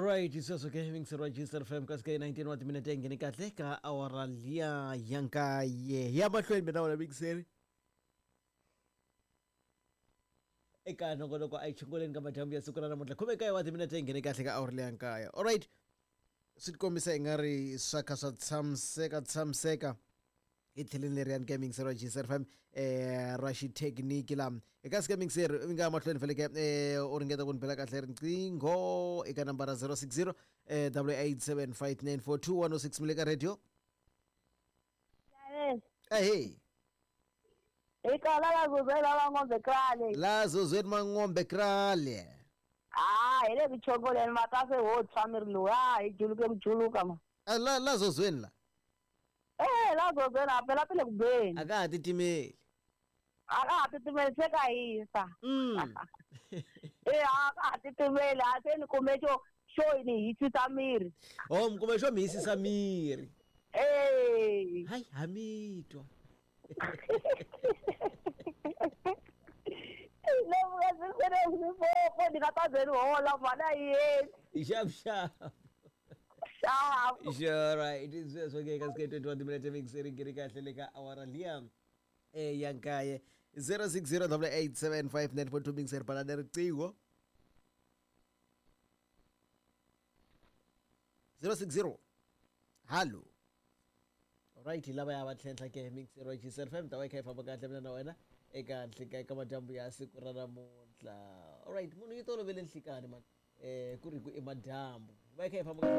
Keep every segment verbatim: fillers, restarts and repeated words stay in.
Alright, sweswo ke mingiseriwa G S F M kasi ka nineteen wa timinete yi nghene kahle ka awara liya ya nkaye. Ya mahlweni mina wena mingiseri eka nongonoko a yi chunguleni ka madyambu ya siku ra namuntlha, khume nkaye wa timinete yi nghene kahle ka awara liya nkaye. Alright, swi tikombisa i nga ri swa kha swa tshamiseka tshamiseka hi tlheleni leriyani ka mingiseri wa G S F M eh ra xithekiniki la eka sika mingiseri mi nga mahlweni feleke eh u ringeta ku ni bela kahle riqingho eka nambara zero six zero eh eight eight seven five nine four two one zero six. Mi le ka radio. Yes. Ahee. Ikala la zuzela la ng'ombe krale. La zozweni mang'ombe krale. Ah, hi le ku chongoleni makase wo tshwa miri lowu. Ah, hi juluke ku juluka ma. Ah, la la zozweni la. Eh, la zuzela phela pele ku beni. A ka ha titimeli. A ka ha titimeli, se ka hisa. mm Eh, a ka ha titimeli, a se ni kume xo xo ni hisisa miri. Oh, mi kume xo mi hisisa miri. Eh. Hayi, ha mi twa. Ni nga ta ze ni hola mhana yeni. Xap xap. Xap. Sure, right. Sweswo ke ka sike twenty-one timinete mingiseri ngiri kahle le ka awara liya eh ya nkaye, zero six zero eight eight seven five nine four two. Mingiseri balani riqingho zero six zero. Hallo. Alright, hi lava ya va tlhentlha ke mingiseri wa G S F M ta va yi kha yi famba kahle mina na wena eka nhlika eka madyambu ya siku ra namuntlha. Alright, munhu yi tolovele nhlikani man eh ku ri ku i madyambu va yi kha yi famba kahle.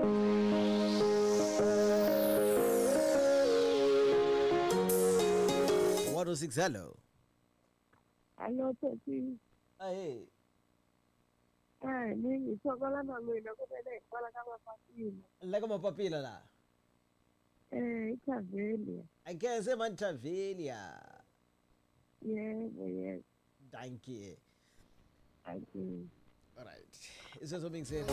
one oh six, hello. Hello, Tati. Ahee. Eh, ni hi thokola na n'wina ku vele hi kwala ka mapapila. La ka mapapila la. Eh, iThavelia. Angeze mantavelia. Yebo, yebo. Dankie. Thank you. Alright, isweso mingiseri.